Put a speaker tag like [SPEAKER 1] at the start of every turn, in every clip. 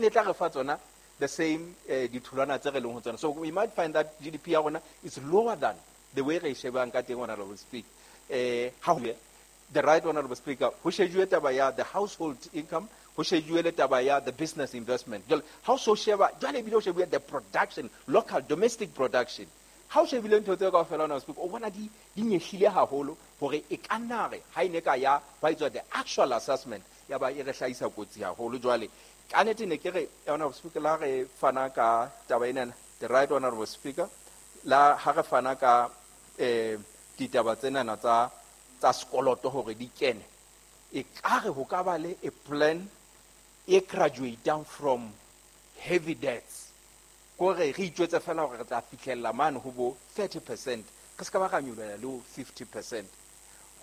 [SPEAKER 1] Ne tla re fa tsona the same ditholwana tse re leng ho tsona. So we might find that GDP ya rona is lower than the way re e shebang ka teng, Honorable Speaker. Ha ho the right Honorable Speaker, ho shejuwe taba ya the household income, ho shejuwe le taba ya the business investment. Jwale ha o so sheba, jwale ebile o shebuwe the production, local domestic production. Ha o shebile ntho tseo kaofela, Honorable Speaker, o bona di nyehlile haholo hore e ka nna re ha e ne ka ya hwa etswa the actual assessment ya ba e re hlahisa kotsi haholo. Jwale ka nnete ne ke re, Honorable Speaker, la re fana ka taba enana, the right Honorable Speaker, la ha re fana ka ditaba tsenana tsa sekoloto hore di kene, e ka re ho ka ba le a plan e graduatang from heavy debts, kore re itjwetse fela hore re tla fihlella mane ho bo 30%, re se ka ba ra nyolohela le ho 50%.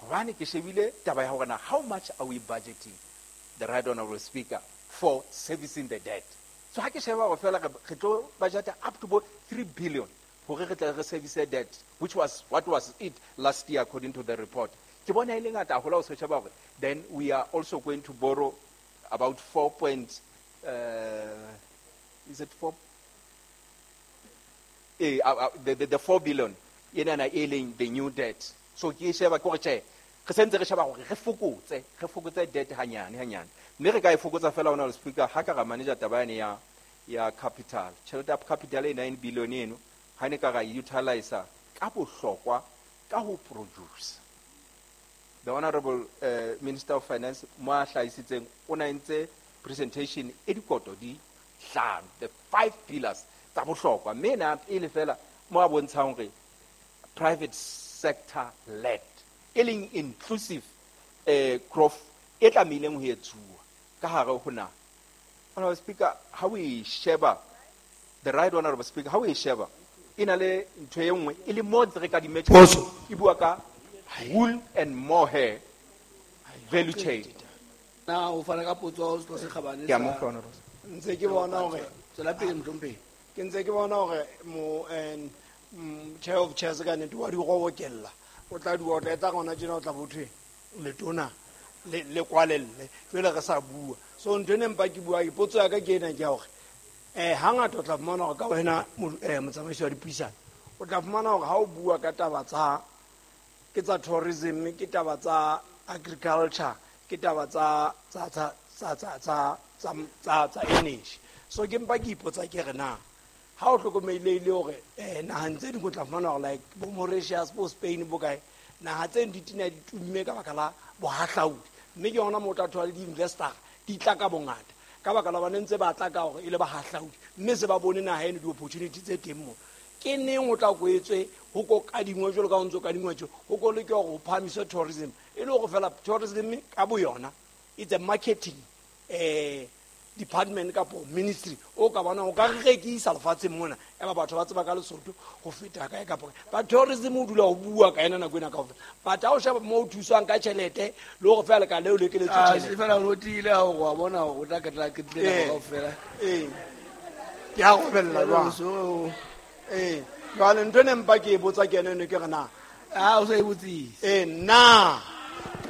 [SPEAKER 1] Hobane ke shebile taba ya hore na how much are we budgeting, the right Honorable Speaker, for servicing the debt. So ha ke sheba hore fela re tlo budgeta up to bo 3 billion hore re tle re service debt, which was what was it last year according to the report. Ke bona e le ngata haholo ha o se sheba hore then we are also going to borrow about 4 point, is it 4? The 4 billion enana e leng the new debt. So ke sheba ke hore tjhe, re sentse re sheba hore re fokotse debt hanyane hanyane. Mme re ka e fokotsa fela, Honorable Speaker, ha ka ra manager taba yane ya capital. Tjhelete ya capital e 9 billion eno, ha ne ka ra e utilize ka bohlokwa ka ho produce. The Honorable Minister of Finance mo a hlahisitseng o na entse presentation e dikoto di hlano, the 5 pillars tsa bohlokwa. Mme na pele fela mo a bontshang hore private sector led, e leng inclusive growth e tlamehileng ho etsuwa ka hare ho naha. Honorable Speaker, ha o e sheba, the right Honorable Speaker, ha o e sheba, e na le ntho e nngwe e le mo ntse re ka di metjha,
[SPEAKER 2] Potso.
[SPEAKER 1] e bua ka wool and mohair value chain.
[SPEAKER 3] Na o fana ka potso ha o se kgabane
[SPEAKER 1] Ke a
[SPEAKER 3] sa
[SPEAKER 1] mo utlwa, Honorable Speaker.
[SPEAKER 2] Ntse ke bona hore
[SPEAKER 3] Tswela pele, mohlomphehi.
[SPEAKER 2] Ke ntse ke bona hore mo, chair of chairs ka nnete wa di robokella. O tla di otla, e tla gona tjena o tla bo thwe letona le kwalelle. Jwale re sa bua. So ntho ene mpa ke bua, potso ya ka ke ena ke ya hore, hangata o tla fumana hore ka wena motsamaisi wa dipuisano, o tla fumana hore ha o bua ka taba tsa, ke tsa tourism, ke taba tsa agriculture, ke taba tsa energy. So ke mpa ke ipotsa ke re na, ha o hlokomelehile hore, naheng tse ding o tla fumana hore like bo Mauritius, bo Spain, bo kae, naha tse ding di tina di tumme ka baka la bohahlaudi. Mme ke yona moo o tla thola le di-investor di tla ka bongata. Ka baka la hobane ntse ba tla ka hore e le bahahlaudi, mme se ba bone naha eno di-opportunity tse teng moo. Ke neng o tla kwetswe ho ko kadingwe jwalo ka ho ntso kadingwa tje, ho ko leke hore ho phahamiswe tourism. E le hore fela tourism ka boyona, it's a marketing, department kapo ministry o ka bona o ka re rekisa lefatsheng mona, ya ba batho ba tseba ka Lesotho ho feta kae kapa kae. But tourism o dula o bua ka ena nako ena kaofela. But ha o sheba moo o thuswang ka tjhelete le hore fela ka leo le ekeletswe
[SPEAKER 3] Ah,
[SPEAKER 2] tjhelete.
[SPEAKER 3] se fela o tiile ha o wa bona hore o tla ke tla ke tlile nako kaofela.
[SPEAKER 2] Ke a robella
[SPEAKER 3] Jwale
[SPEAKER 2] jwang?
[SPEAKER 3] o so o
[SPEAKER 2] Jwale ntho ene mpa ke e botsa ke ena eno ke re na?
[SPEAKER 3] Ah, o sa e botsise.
[SPEAKER 2] Na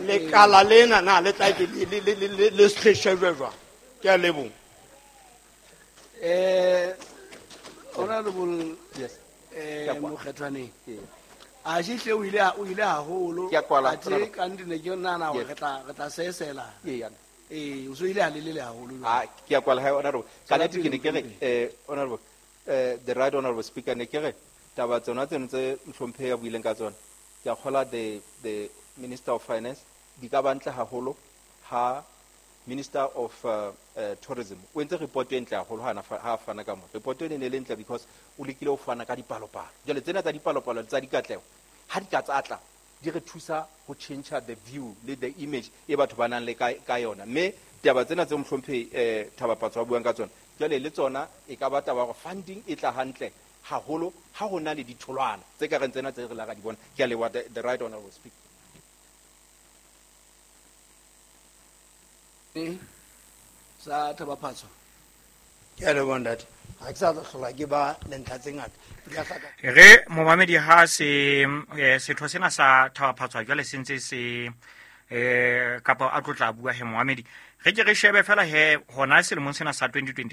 [SPEAKER 2] lekala lena na le tla ke le se shejwe jwang? Ke a leboha.
[SPEAKER 3] Honorable,
[SPEAKER 1] Yes. Ke a kwala.
[SPEAKER 3] Mokgethwaneng.
[SPEAKER 1] Ee.
[SPEAKER 3] A shihle o ile, o ile haholo.
[SPEAKER 1] Ke a kwala,
[SPEAKER 3] Athe
[SPEAKER 1] Honorable.
[SPEAKER 3] ka nnete ne ke nahana hore
[SPEAKER 1] Yes.
[SPEAKER 3] re tla sesela.
[SPEAKER 1] Ee, ya.
[SPEAKER 3] O so ile ha lelele haholo jwale.
[SPEAKER 1] Ah, ke a kwala, Honorable. Ka
[SPEAKER 3] Tswela
[SPEAKER 1] nnete ke ne ke re,
[SPEAKER 3] pele,
[SPEAKER 1] Honorable, the right Honorable Speaker, ne ke re taba tsona tseno tse mohlomphehi a buileng ka tsona. Ke a kgola the Minister of Finance di ka ba ntle haholo ha Minister of Tourism o entse report e ntle haholo ha ha fana ka mo. Report ene e le ntle because o lekile ho fana ka dipalopalo. Jwale tsena tsa dipalopalo tsa dikatleho ha di ka tsa tla di re thusa ho change the view le the image e batho ba nang le ka yona. Mme taba tsena tse mohlomphehi Thabaphatso a buang ka tsona, jwale le tsona e ka ba taba ya hore funding e tla hantle haholo ha ho na le ditholwana tse ka reng tsena tse re la ra di bona. Ke a leboha, the right honorable speaker.
[SPEAKER 3] Sa Thabaphatso.
[SPEAKER 2] Ke a leboha ntate. Ha ke sa tla hlola ke ba le ntlha tse ngata. Ke tla hlaka.
[SPEAKER 4] Re momamedi ha se setho sena sa Thabaphatso jwale se ntse se kapa a tlo tla bua he momamedi. Re ke re shebe fela he hona selemong sena sa 2020